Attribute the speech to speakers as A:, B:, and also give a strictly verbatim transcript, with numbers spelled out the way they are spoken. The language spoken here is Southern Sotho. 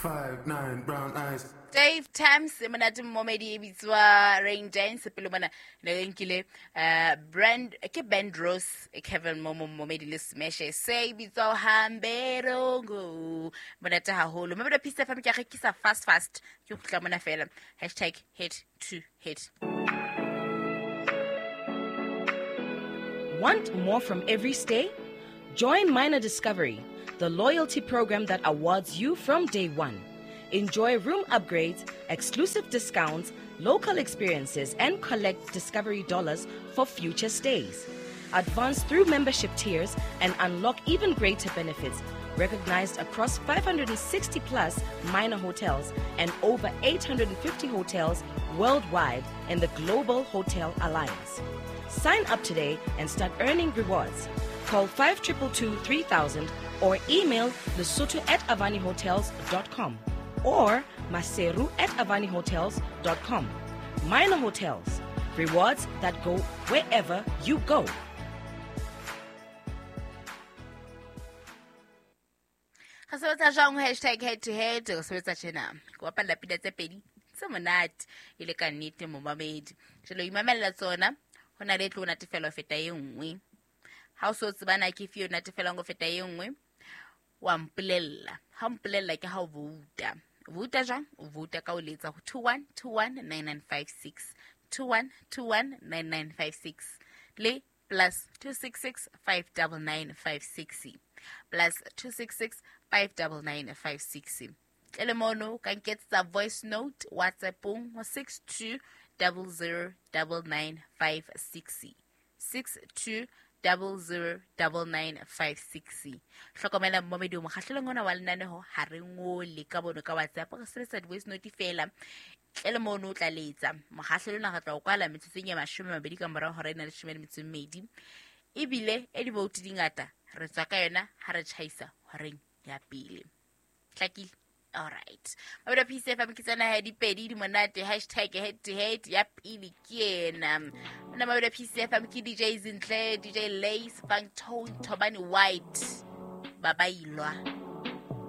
A: Five, nine, brown eyes.
B: Dave Tams monate momedi e bitswa Rain Dance pele mona ne re nkile eh brand ke Band Rose Kevin Momo momedi le Smash se e bitswa Hamberongo monate haholo. Mme Peace F M ke rekisa fast fast ke kgutla mona fela hashtag head to head.
C: Want more from every stay? Join Minor Discovery, the loyalty program that awards you from day one. Enjoy room upgrades, exclusive discounts, local experiences, and collect Discovery dollars for future stays. Advance through membership tiers and unlock even greater benefits, recognized across five hundred sixty plus minor hotels and over eight hundred fifty hotels worldwide in the Global Hotel Alliance. Sign up today and start earning rewards. Call five two two two three thousand or email lesotho at avani hotels dot com or maseru at avani hotels dot com. Minor Hotels, rewards that go wherever you go.
B: Re sebetsa jwang hashtag head to head? Re sebetsa tjena. Ke bapalla pina tse pedi tse monate e le ka nnete momamedi. Jwale o imamella tsona, ho na le e tlo natefela ho feta e nngwe. Ha o so tseba na ke efe e o natefelang ho feta e nngwe, wa mpolella. Ha o mpolella ke ha o vouta. Vouta jwang? O vouta ka o letsa ho two one two one nine nine five six. two one two one nine nine five six. Le plus two six six five nine nine five six. Plus two six six five nine nine five six. Tlele mono ka nketsetsa voice note WhatsApp-ong ho six two double zero double nine five six. six two double zero double nine five six. Hlokomela mmomedi o mokgahlelong ona wa lenaneho ha re ngole ka bono ka WhatsApp, re sebetsa di-voice note fela. Tlele mono o tla letsa. Mokgahlelo ona re tla o kwala metsotsong e mashome a mabedi ka morao hora ena leshome le metso e mmedi. Ebile e di-vote di ngata re tswa ka yona ha re tjhaisa horeng ya pele. Hlakile? All right. Mabedi Peace F M ke tsena ha dipedi di monate hashtag head to head ya pele ke ena. Nna Mabedi Peace F M ke D J Zinhle, D J Lace, Funk Tone, Thobani White. Babailwa.